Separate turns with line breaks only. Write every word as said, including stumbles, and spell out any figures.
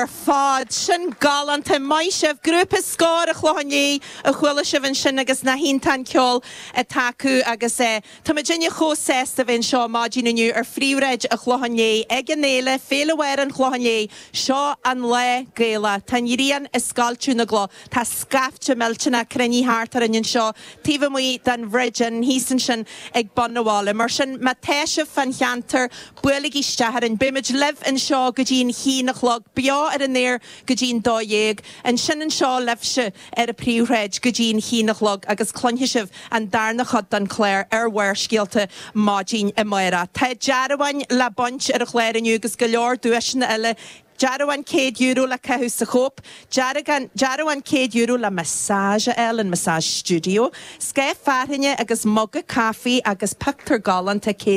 ar fad sin galánta maith sibh grúpa Scór an Chlocháin Léith a chuala sibh ansin agus nach iontach an ceol atá acu agus eh, Tá muidinne chomh sásta bheith anseo maidin inniu ar Phríomhshráid an Chlocháin Léith ag an fhéile Féile Bharr an Chlocháin Léith seo an lá Gaelach Tá an ghrian ag scoilteadh na gcloch Tá scaifte millteanach cruinnithe thart orainn anseo taobh amuigh den Bhridge Inn thíos ansin ag bun an bhaile. Mar sin má tá sibh fán cheantar buailigí isteach orainn Beimid libh anseo go dtí an haon a chlog beo ar an aer go dtí an dó dhéag, ansin anseo libhse ar an bPríomhshráid go dtí an haon a chlog agus cluinfidh sibh an darna cuid den chlár ar Bharrscéalta maidin amárach. Tá dearbháin le baint ar an chlár inniu agus go leor duaiseanna eile Dearbhán céad euro le caitheamh sa Chóip, dearbhán céad euro le massage eile an massage studio, Scáth fearthainne agus muga caife agus pictiúr galánta céad